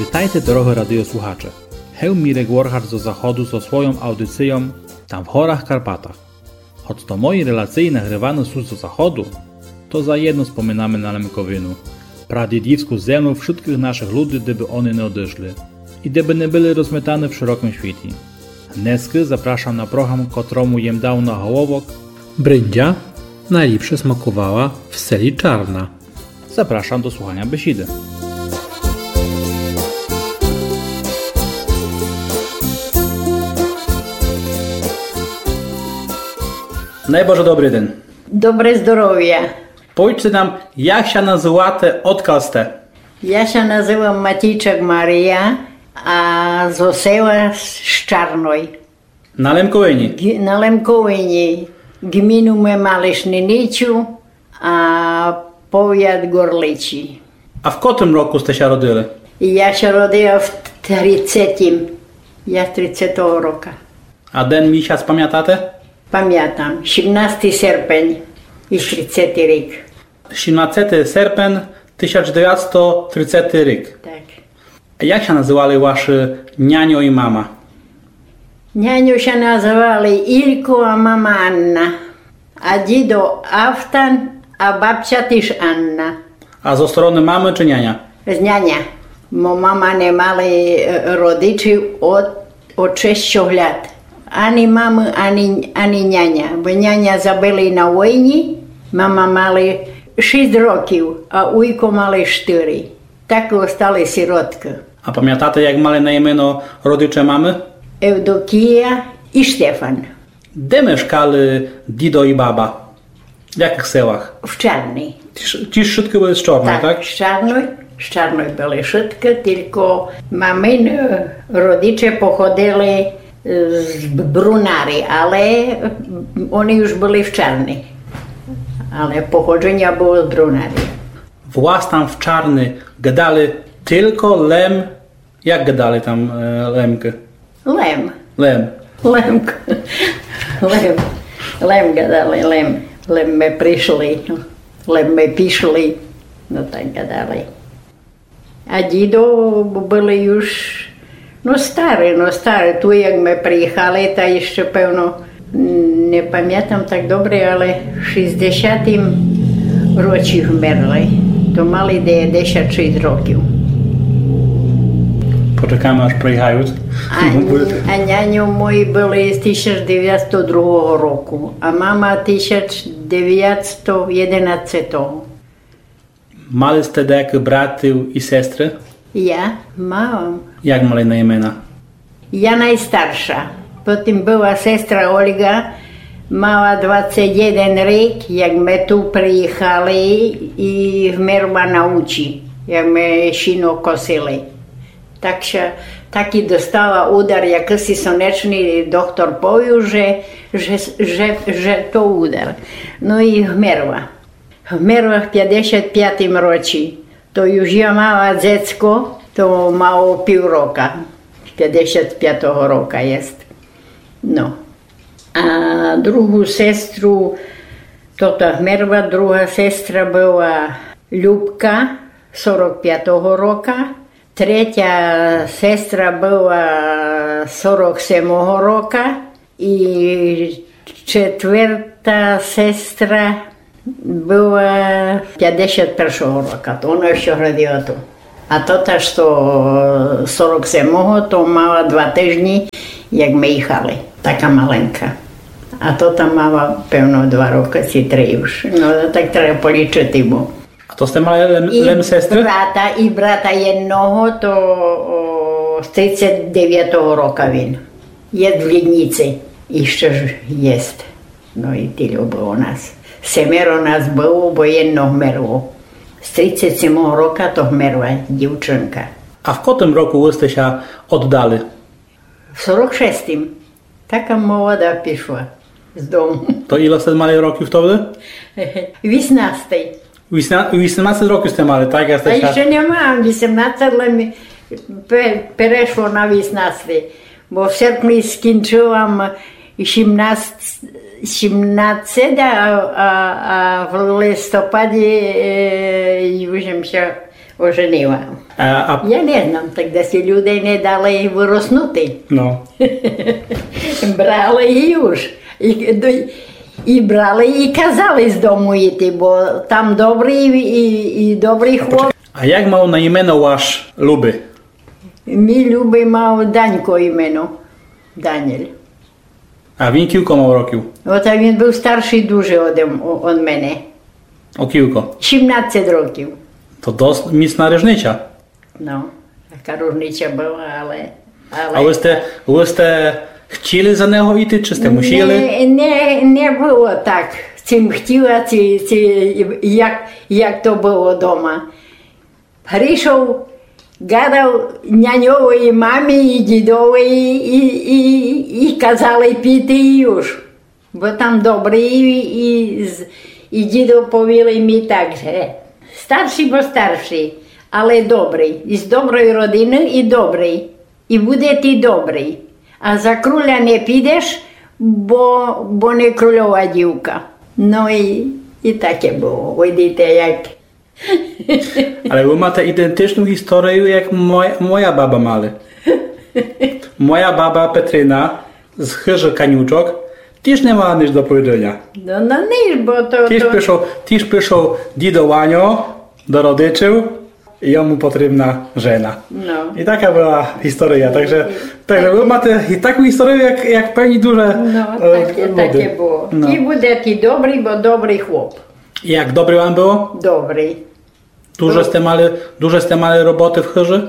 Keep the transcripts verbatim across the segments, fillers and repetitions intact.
Витайте, дорогы радиослухаче. Гев Мірек Воргач зо заходу зо свойом аудицийом «Там в горах Карпатах». Гоц то мої релациї нагриваны сут зо заходу, то заєдно споминаме на Лемковину, прадїдівску землю вшыткых нашых люди, де бы они не одышли и де бы не были розметаны в широкым світі. Днеска запрашам на програм, котрому єм дав наголовок: Бриндзя найліпше смакувала в селі Чарна. Запрашам до слуханя бесіды. Най боже добрий ден. Добре здоровя. Повічте нам, як ся называте, одкаль сте? Я ся называм Матійчак Марія, а зо села Щарной. На Лемковині? Ґ-, на Лемковині. Ґміну ме мали Шниницю, а повят Горличі. А в котрым року сте ся родили? Я ся родила в тридцетім. Я тридцетого рока. А ден, місяц памятате? Памятам. Сімнастий серпень и тридцетий рік. Сімнастий серпень тисяч девятсто тридцетий рік. Так. А як ся называли вашы няньо и мама? Няньо ся называли Ілько, а мама Анна. А дідо Автан, а бабця тіж Анна. А зо стороны мамы чи няня? З няня. Мо мама не мали, е, родичів од, од шестьох лят. Ани мамы, ани, ани няня. Бо няня забили на войні, мама мали шість років, а уйко мали штыри. Так остали сироткы. А памятате, як мали на имено родиче мамы? Евдокія и Штефан. Де мешкали дідо и баба? В якых селах? В Чарній. Тіж, тіж вшыткы были з Чарной, так? Так, з Чарной, з Чарной были вшыткы, тілько мамины родиче походили, е, з Брунары, але, м, они уж были в Чарній. Але походженя было з Брунары. Вас там в Чарни гадали тілько Лем, як гадали там, е, Лемкы? Лем. Лем. Лемк. Лем. Лем гадали, Лем. Лем ме пришли, Лем ме пішли. Но так гадали. А дідо были уж, но, стары, но, стары. Ту як ме приїхали, та іщы, певно, не памятам так добре, але в шістдесятім році вмерли. То мали девятдесят шість років. Почекаме, аж приїхают. А, а няньо мої были з тисяч девятсто другого року, а мама тисяч девятсто єдинадцятого. Мали сте даякых братів и сестры? Я мала. Як мали на имена? Я найстарша. Потім была сестра Ольга, мала двадцет єден рік, як ме ту приїхали, и вмерла на учі, як ме сіно косили. Так ся, такій достала удар, якыси сонечный, доктор повів, же, же, же, же то удар. Но и вмерла. Вмерла в пятдесят пятім році. То уж я мала дзецко, то мало пів рока. Пятдесят пятого рока єст. Но. А другу сестру, то та вмерла, друга сестра была Любка, сорок пятого рока. Третя сестра была сорок семого рока. И четверта сестра была пятдесят першого рока, то она іщы родила ту. А тота, што сорок семого, то мала два тыжні, як ме їхали, така маленька. А тота мала, певно, два рокы ци три уж. Но, так треба полічыти, бо А то сте мали лем, и лем сестры? Брата, и брата єдного, то, о, з тридцет девятого рока він. Єст в Лідніци, іщы ж єст. Но и тілько было нас. Семеро нас было, бо єдно вмерло. З тридцет семого рока то вмерла дівчынка. А в котрым року вы сте ся оддали? В сорок шестім. Така молода пішла з дому. То іле сте мали років тогды? Вісемнадцет. Вісна-, вісемнадцет років сте мали, так? Як сте... А ся іщы не мала вісемнадцет, лем пе-, перешло на вісемнадцет. Бо в серпні скінчыла м сімнадцет, сімнадцет, а, а, а в листопаді, е, уж єм ся оженила. А, а... Я не знам, так десь людей не дали выроснути. Но. Брали і уж. І, до-, і брали, і казали з дому йти, бо там добрый і, і, і добрый хлоп. А як мав на імено ваш любый? Мій любый мав Данько імено. Даніель. А він кілько мав років? От а він быв старшый дуже од, од мене. О кілько? Сімнадцять років. То досить міцна ріжниця. Но, така ріжниця была, але, але... А вы сте, вы сте хтіли за нього йти, чи сте мусіли? Не, не, не было так, ци м хтіла, ци, ци як, як то было дома. Пришов, гадав няньовій мамі і дідовій і, і, і казали піти і уж. Бо там добрый і, і, з-, і дідо повіли мі так, же старшый, бо старшый, але добрый, і з доброй родины і добрый. І буде ти добрый. А за кроля не підеш, бо, бо не крольова дівка. Но і, і таке было. Видите, як. Але вы мате ідентичну історію, як моя, моя баба мали. Моя баба Петрина з хыжы Канючок тіж не мала ніч до повіданя. Но, но ніч, бо то, тіж то пішов, тіж пішов дідо Ваньо до родичів, і йому потрібна жена. Но. І така была історія. Так же, так же вы мате і таку історію, як, як певні дуже, но, е, таке, люди. Таке было. Но. І буде ти добрый, бо добрый хлоп. Як добрі вам было? Добрі. Дуже сте мали, дуже сте мали роботы в хыжы?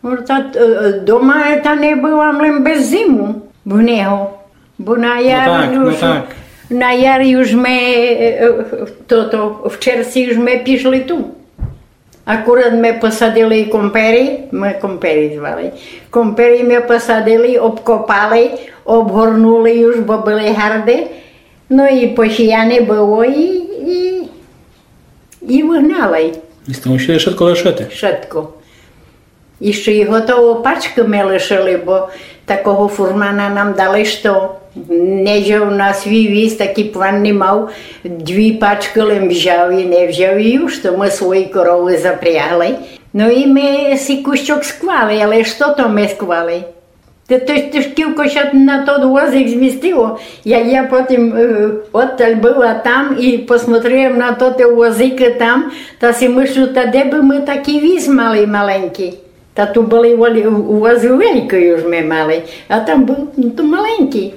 Но, та, е, е, дома та не была, лем без зиму в нього. Бо на яр... Но так, но уж, так. На яр уж мы, е, е, тото, в червці уж мы пішли ту. Акурат мы посадили компері, мы компері звали. Компері мы посадили, обкопали, обгорнули уж, бо были гарды. Но і посіяне было, і, і, і выгнали. І сте мусіли шытко лишыти? Шытко. Іщы і готово пачкы мы лишыли, бо такого фурмана нам дали, што не взяв на свій віз, такый план не мав, дві пачкы лем взяв і не взяв, і уж то мы свої коровы запрягли. Но і мы си кусчок склали, але што то мы склали? Та то, то ж кілько ся на тот возик змістило. Як я потім, е, одталь была там і посмотрила на тоты возикы там, та си мыслю, та де бы мы такый віз мали маленькый? Та ту были волі-, возы великы уж мы мали, а там был, но, то маленькый.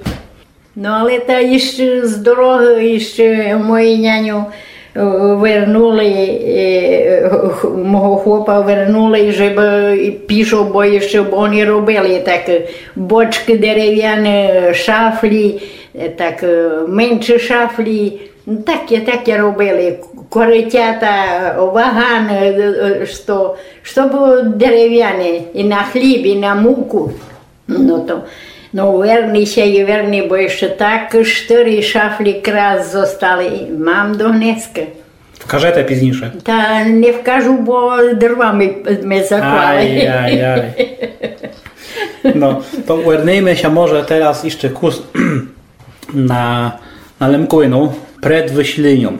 Но, але та іщы з дорогы, іщы мої няню, е, вернули, е, х-, мого хлопа вернули, жебы пішов, бо іщы они робили так, е, бочкы деревяны, шафлі, е, так, е, менші шафлі, но, таке, таке робили, корытята, ваганы, е, е, што, што было деревяне, і на хліб, і на муку. Но то, но, верні ся і верні, бо іщы так штыри шафлі крас зостали. Мам до днеска. Вкажете пізніше. Та не вкажу, бо дрвами ме заклали. Ай, ай, ай. Но, то вернийме ся може тераз іщы кус на, на Лемковину пред выселеньом.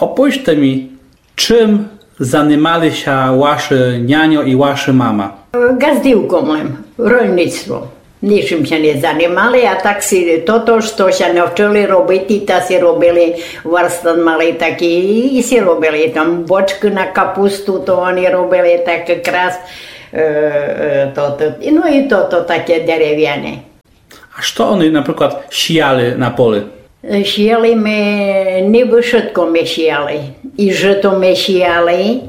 Оповіджте мі, чым занимали ся вашы няньо і вашы мама? Ґаздівком лем, рольництвом. Нічым ся не занимали, а так си тото, што ся навчыли робити, та си робили, варстат мали такый, і си робили там бочкы на капусту, то они робили так крас, е, е, тото. І, но і тото таке деревяне. А што они, наприклад, сіяли на полі? Е, сіяли мы, нибы вшытко мы сіяли. І жыто мы сіяли,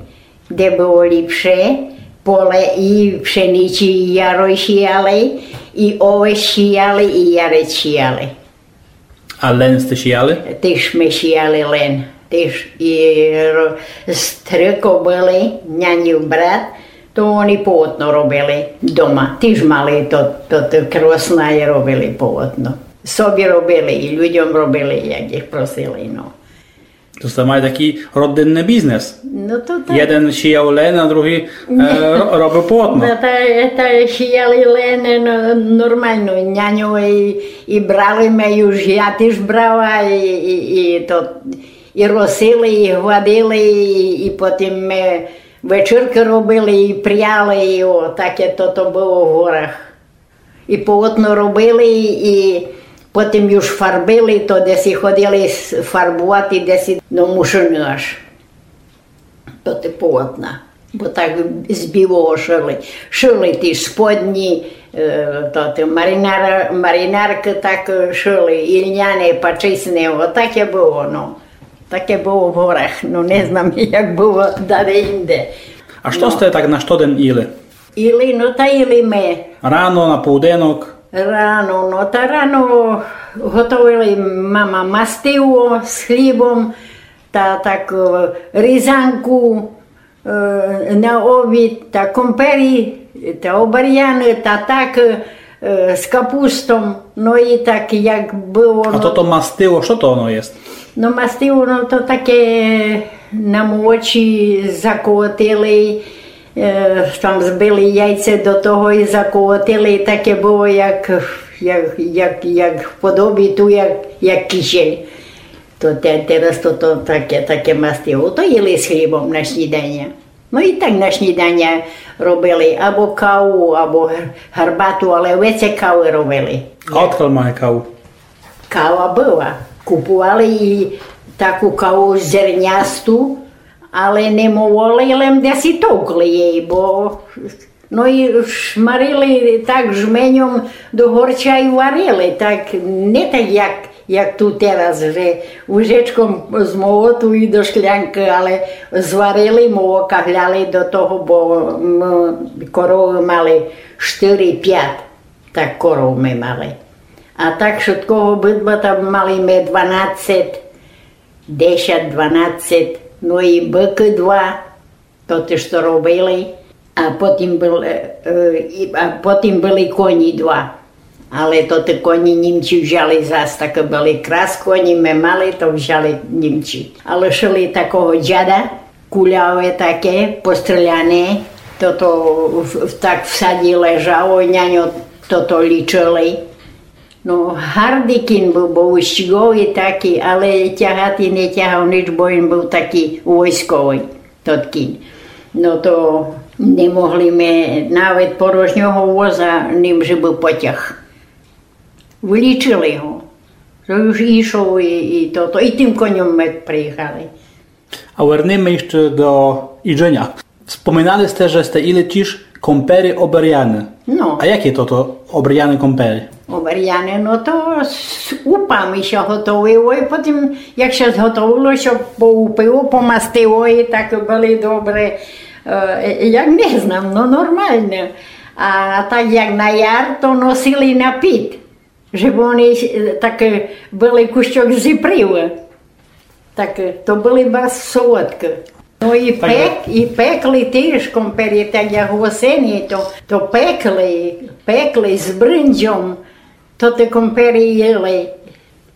де было ліпше, поле і пшеницї, і ярой сіяли, і овес сіяли, і ярець сіяли. А лен сте сіяли? Тіж мы сіяли лен. Тіж і ро-, стрыко были, нянів брат, то они полотно робили дома. Тіж мали то, то, то кросна і робили полотно. Собі робили, і людьом робили, як їх просили, но. То сте мали такый родинный бізнес. Но то так. Єден сіяв лен, а другый, е, ро-, робив полотно. Но, та, та сіяли лен, но, нормално, няньо і, і брали мы, уж я тіж брала, і, і, і то, і росили, і гладили, і, і потім мы Вечіркы робили і пряли, і о, таке тото было в горах. І полотно робили, і потім уж фарбили, то десь і ходили с-, фарбовати, десь і до Мушыны аж. Тоты полотна. Бо так з білого шыли. Шыли ті сподні, е, то, то маринара-, маринаркы так, е, шыли, і льняне, пачісне, о, таке было, ну. Таке было в горах, ну, не знам, як было даде інде. А што сте так на штоден їли? Їли, ну, та їли мы. Рано, на полуденок? Рано, ну, та рано готовили мама мастиво з хлібом, та так, е, різанку, е, на обід, та компері, та обаряны, та так, е, з капустом. Ну, і так, як было, а ну, тото мастиво, што то оно єст? Ну, мастиво, ну, то таке на молочі заколотили, е, там збили яйце до того і заколотили, і таке было, як, як, як, як в подобі ту, як, як кисель. То те-, тераз то, то таке, таке мастиво. То їли з хлібом на сніданя. Ну і так на сніданя робили або каву, або гар-, гарбату, але веце кавы робили. А одкаль мали каву? Кава была. Купували і таку каву зернясту, але не мололи, лем десь і товкли її, бо, ну, і шмарили так жменьом до горча і варили. Так, не так, як, як ту тераз, же ложечком з молоту і до шклянкы, але зварили, молока гляли до того, бо мы коровы мали штыри-пят, так коров мы мали. А так шыткого быдла там мали мы дванадцет, десят, дванадцет, ну і быкы два. То тоты, што робили, а потім был, е, е, і, а потім были коні два. Але то тоты коні німці взяли зас, такы были крас коні, мы мали, то взяли німці. А лишили такого дяда, куляве таке, постріляне, тото в, в, так в саді лежало, няньо тото лічили. Ну, гардый кін был, бо устіговый такый, але тягати не тягав ніч, бо він был такый войсковый, тот кін. Ну, то не могли мы навет порожнього воза ним же бы потяг. Вылічили го. То уж ішов і, і тото, і тым коньом мы приїхали. А вернеме іщы до їджыня. Споминали сте, же сте їли тіж компері обаряны. Ну. А яке то, то обаряны компері? Обаряны, ну то з упами ся готовило, і потім, як ся зготовило, ся поупило, помастило, і так были добрі, е, як не знам, ну нормалні. А так як на яр, то носили на піт. Же вони, е, так, е, были кущок зіпрілы. Так, е, то были барз солодкы. Ну і пек-, і пекли тіж компері, так як в осені, то, то пекли, пекли з брындзьом, то тоты компері їли.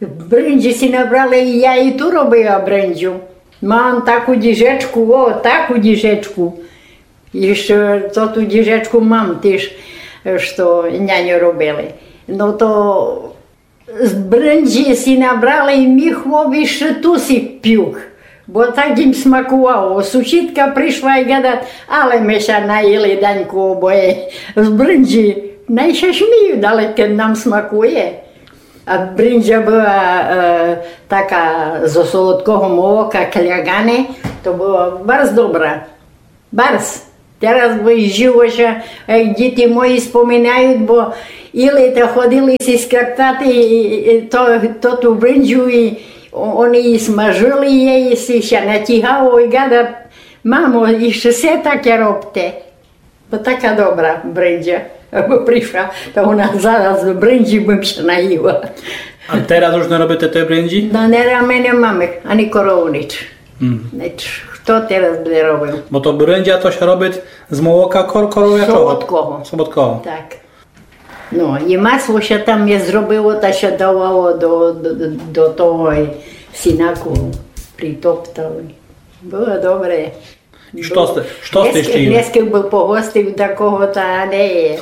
Брындзі сі набрали, і я і ту робила брындзю. Мам таку діжечку, о, таку діжечку. Іщы тоту діжечку мам тіж, е, што няньо робили. Ну то з брындзі сі набрали і мій хлоп іщы ту сі пюк. Бо так їм смакувало. Сусідка пришла і гадат: «Але мы ся наїли, Даньку, обоє з брындзі». Най ся сміют, але кед нам смакує. А брындзя была, е, така зо солодкого молока, клягане, то была барз добра. Барз. Тераз бы жіво ся, е, діти мої споминают, бо їли та ходили сі скартати, і, і, і то, то ту брындзю, і о-, они і смажили єй, і сі ся натігало, і гадат: «Мамо, іщы се таке робте». Бо така добра брындзя. Бо пришла, та она зараз: «Брындзі бым ся наїла». А тераз уж не робите той брындзі? Но, не, мы не маме, ани корову, ніч. Мгм. Ніч. Хто тераз буде робив? Бо то брындзя то ся робит з молока кор-, коровячого. Солодкого. Солодкого. Так. Ну, і масло ся там є зробило, та ся давало до, до, до, до того сінаку, притоптали. Было добре. Што сте, што сте іщы їли? Днеска бы погостив такого, та не є.